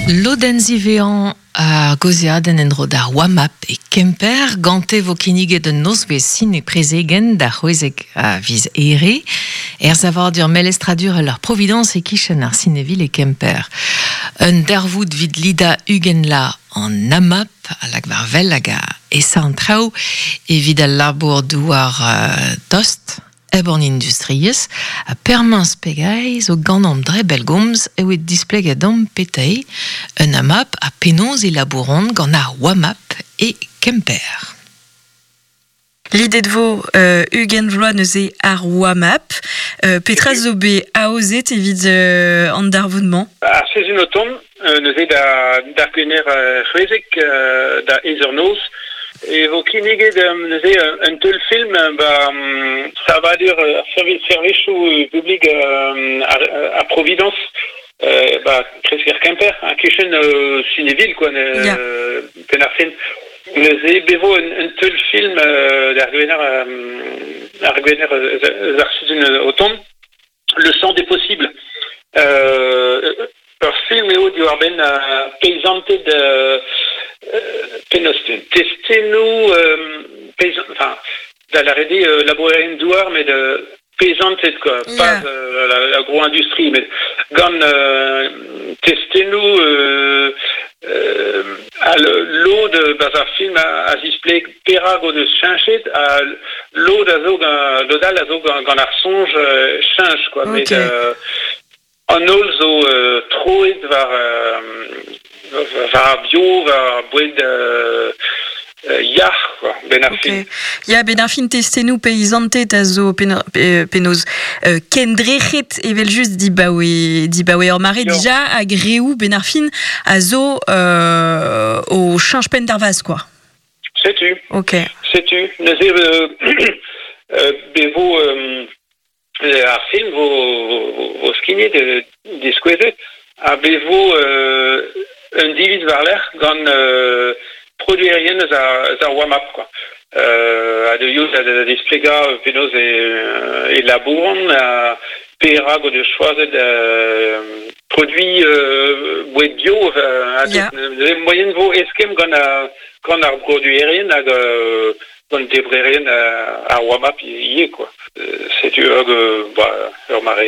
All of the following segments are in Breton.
Lodenn ziwezhañ ar gaozeadenn en-dro d'ar WAMAP e Kemper. Gante vo kinniget un nozvezh sine-prezegenn d'ar c'hwezek a viz Here er savadur melestradurel ar Providence e-kichen ar Sinevil e Kemper. Un darvoud 'vit lidañ 20 la an AMAP a lak war wel hag a esa an traoù evit al labour-douar tost hep an industriezh ha Permañs Pegay zo ganeomp dre bellgomz evit displegañ deomp petra eo un AMAP ha penaos e labouront gant ar WAMAP e Kemper. Lidet vo 20 vloaz neuze ar WAMAP. Petra zo bet aozet evit an darvoud-mañ? Ar sizhun o tont, neuze da d'ar Gwener c'hwezek da eizh eur noz e vo kinniget neuze un teulfilm ba savadur servijoù publik ar Providence ba kresker Kemper, kichen Cinéville quoi, penn ar fin. Neuze be vo un teulfilm d'ar Gwener ar Gwener eus ar sizhun o tont. Le champ des possibles. Ur film eo diwar-benn peizanted penaos testennoù enfin da lâret eo labourerien-douar met peizanted quoi, pas l'agro-industrie met gant testennoù ha lod 'barzh ar film a zispleg perak o deus cheñchet ha lod a zo lod all a zo gant ar soñj cheñch quoi met an holl zo troet war war ar bio war ar boued yac'h quoi benn ar fin. Ya, benn ar fin testennoù peizanted a zo penaos kendrec'het evel-just dibaoe dibaoe ur mare dija hag reoù benn ar fin a zo o cheñch penn d'ar vazh quoi. Setu. Ok. Setu. Neuze be vo ar film vo, vo skignet, diskouezet, ha be vo un diviz war-lerc'h gant produerien eus ar, eus ar warm-up quoi. Ha deuio da, da displegañ penaos e, e labouront ha perak o deus choazet produiñ boued bio. Moaien vo eskemm gant ar, gant ar broduerien hag gant debrerien ar warm-up ivez quoi. Setu ur ba, ur mare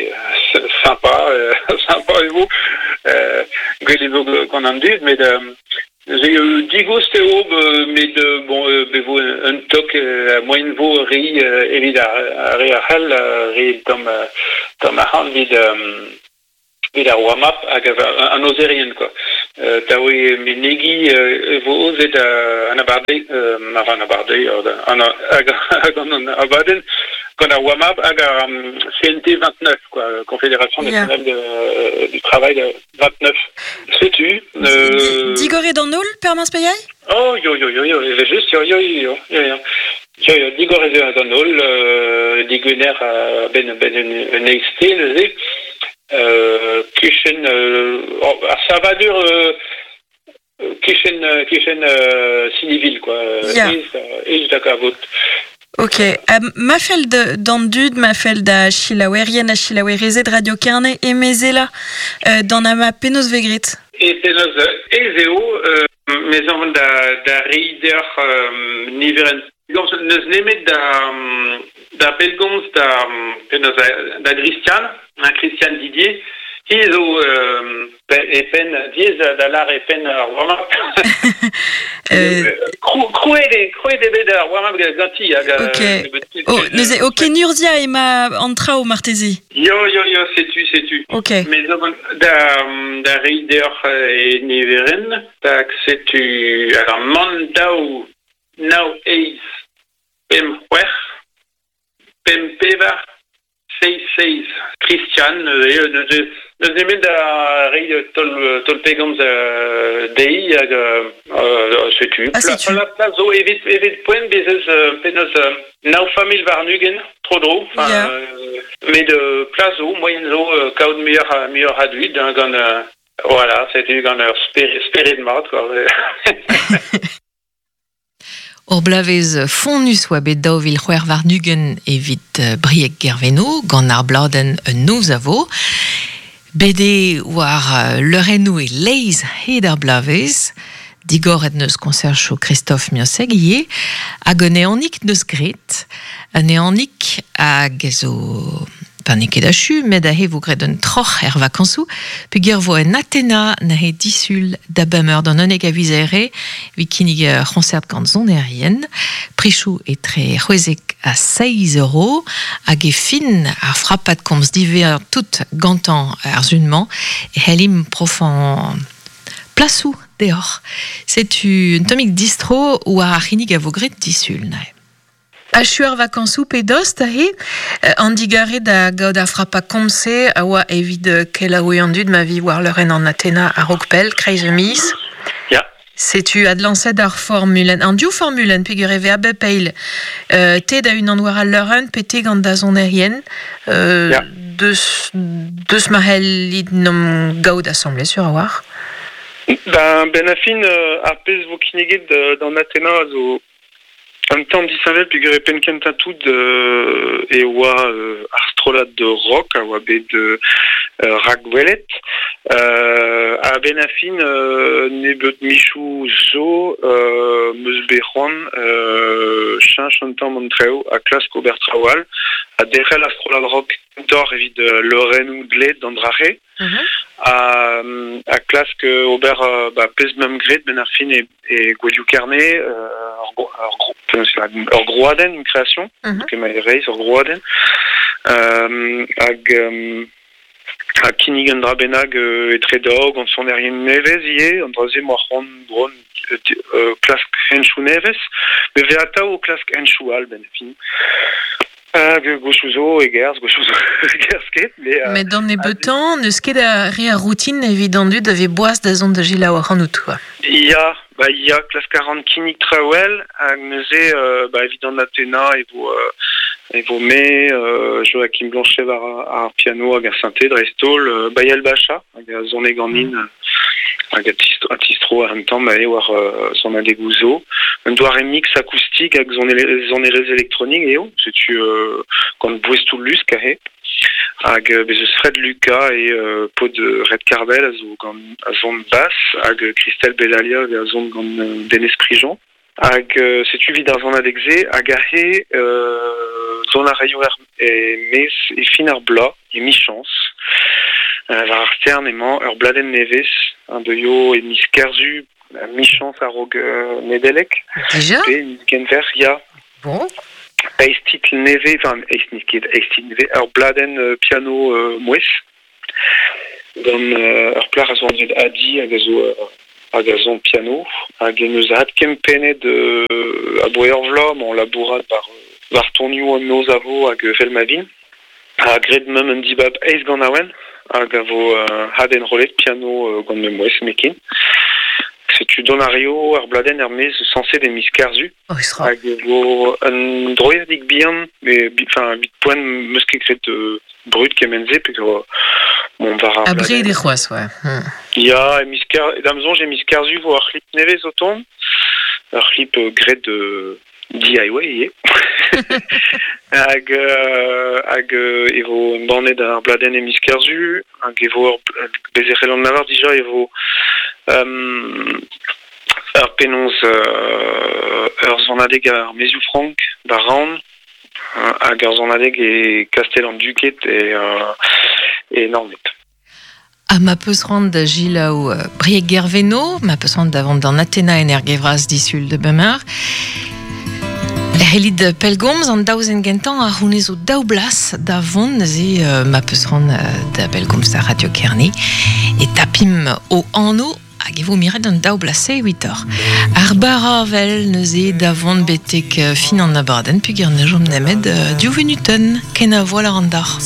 sympa sympa e vo gwell e vo gant an dud met digoust eo met bon be vo un tok moaien vo reiñ evit ar re a c'hall re tamm tamm arc'hant evit evit ar warm-up hag an aozerien quoi. Da oe menegiñ e vo aozet an abardaez an abardaez hag an abadenn gant ar warm-up hag ar CNT 29 quoi, Confédération nationale du travail 29. Setu. Digoret an holl, Permañs Peiai? Oh, yo, yo, yo, yo, evel-just, yo, yo, yo, yo, yo. Yo, yo, digoret eo an holl, digwener ben, ben un eizhte neuze. Kichen, ar savadur kichen, kichen Sinivil, quoi. Ez da kavout. Ok. Ma fell d'an dud, ma fell da selaouerien ha selaouerezed Radio Kerne emezelañ d'an ama penaos vez graet? E penaos ez eo, mes amañ da, da reiñ deoc'h niverenn. N'eus nemet da, da bellgomz da, penaos da Christian, Christian Didier, hi zo e penn diaes da lâr e penn ar warm-up. Krouet eo krouet eo bet ar warm-up ganti hag Ok. Oh, neuze o kenurzhiañ emañ an traoù marteze. Yo yo yo setu setu. Ok. Mais da da reiñ deoc'h e niverenn tak setu alors man daou nav eizh pemp c'hwec'h pemp pevar Seizh seizh Christian neuze neuze n'eus nemet da reiñ taol taol pegomz dezhi hag setu. Ah, setu. La plas zo evit evit poent bez eus penaos nav familh warn-ugent tro-dro. Enfin, met plas zo, moaien zo kaout muioc'h muioc'h a dud hein, gant voilà, setu gant ur spered spered mat quoi. Ur bloavezh fonnus oa bet 2026 evit Brieg Gerveno gant ar bladenn Un noz a vo. Bede war leurennoù e leiz hed ar blavez, digoret neus konsercho Christophe Miosseg ie, hag un eonik neus gret, un eonik hag zo pa n'eo ket achu, met a he vo gret un troc'h er vakañsoù, peogwir vo en Atena neuze disul da bemeur d'an unnek a viz Here, evit kinnig ur c'hoñsert gant sonerien, prichoù etre c'hwezek ha seizh euro, hag e fin ar frapad komz diwezhañ tout gantañ ar sun-mañ, e c'hellimp profañ plasoù deoc'h. Setu un tammig distro war ar c'hinnig a vo graet disul neuze. Achu ar vakañsoù pe dost aze, an digarez da gaout ar frapañ komz-se a oa evit kelaouiñ an dud ma vi war leurenn an Atena a-raok pell, kreiz e miz. Ya. Setu adlañset ar formulenn, an div formulenn peogwir e vez a bep eil. Te da-unan war al leurenn pe te gant da sonerien. Ya. Deus, deus ma c'hellit 'n gaout asambles sur a-walc'h. Ben, ben a fin, ar pezh vo kinniget d'an Atena a zo Un tamm disheñvel peogwir e penn-kentañ tout e oa ar strollad rock a oa bet rakwelet. A-benn ar fin nebeut michoù zo 'm eus bet c'hoant cheñch un tamm an traoù ha klask ober traoù all ha derc'hel ar strollad rock kentoc'h evit leurennoù dleet d'an dra-se. Ha klask ober ba pezh 'meump graet 'benn ar fin e Gouelioù Kerne, ur grouadenn, une création, emañ e reizh, ur grouadenn. Hag ha kinnig un dra bennak etre daou gant sonerien nevez ivez, an dra-se 'moa c'hoant bron klask henchoù nevez. Me vez atav o klask henchoù all 'benn ar fin. Hag gwechoù zo e gerzh, gwechoù zo e gerzh ket. Mais, Met d'an nebeutañ, n'eus ket a re a routine evit an dud a vez boas da zont da selaou ac'hanout, quoi. Ya, ba ya, klask a ran kinnig traoù all, hag neuze, ba evit an Atena e vo, e vo me, Joachim Blanchet war ar piano hag ar synthé dreist-holl, Bayel Bacha hag a sone ganin hag a tistro un tamm eo war sonadegoù zo. Un doare mix akoustik hag sonerezh elektronik eo, setu gant boestoù lusk aze. Hag bez eus Fred Lucas e paotr Red Cardell a zo gant a son bass hag Christelle Bellalia a son gant Denez Prigent. Hag setu evit ar sonadeg-se hag aze dont a raio er-maez e fin ar bloaz, emichañs. War ar stern emañ ur bladenn nevez a deuio e miz Kerzu, emichañs a-raok Nedeleg. Dija? Pe miz Genver, ya. Bon. Eizh titl nevez, enfin eizh n'eo ket eizh titl nevez, ur bladenn piano mouezh. Gant ur plac'h a zo anvet Adi hag a zo hag a son piano hag en deus adkempennet aboe ur vloaz emañ labourat war war tonioù an noz a vo hag evel ma vin. Ha graet meump un dibab eizh ganaouenn hag a vo adenrollet piano gant ma mouezh nemetken. Setu dont a raio ar bladenn er-maez sañset e miz Kerzu. Oh, Hag e vo un droiadig bihan, mais enfin evit poent 'meus ket graet brud kement-se peogwir mont war ar Abred eo c'hoazh, ouais. Ya, e miz Ker da'm soñj e miz Kerzu vo ar c'hlip nevez o tont. Ur c'hlip graet DIY ivez. Hag hag e vo embannet ar bladenn e miz Kerzu hag e vo ur bez e c'hellan lavar dija e vo ur penaos ur sonadeg ar Maezioù Frank da Raon hag ur sonadeg e Kastell an Duked e e Naoned. Ha ma peus c'hoant da selaou Brieg Gerveno, ma peus c'hoant da vont d'an Atena en Ergevras disul de Bemeur, e c'hellit pellgomz an daouzen gentañ a c'hounezo daou blas da vont neuze ma peus c'hoant da bellgomz da Radio Kerne e tapimp o anv hag e vo miret an daou blas-se evitoc'h. Ar barr-avel neuze da vont betek fin an abadenn peogwir ne chom nemet div vunutenn. Kenavo a lâran deoc'h.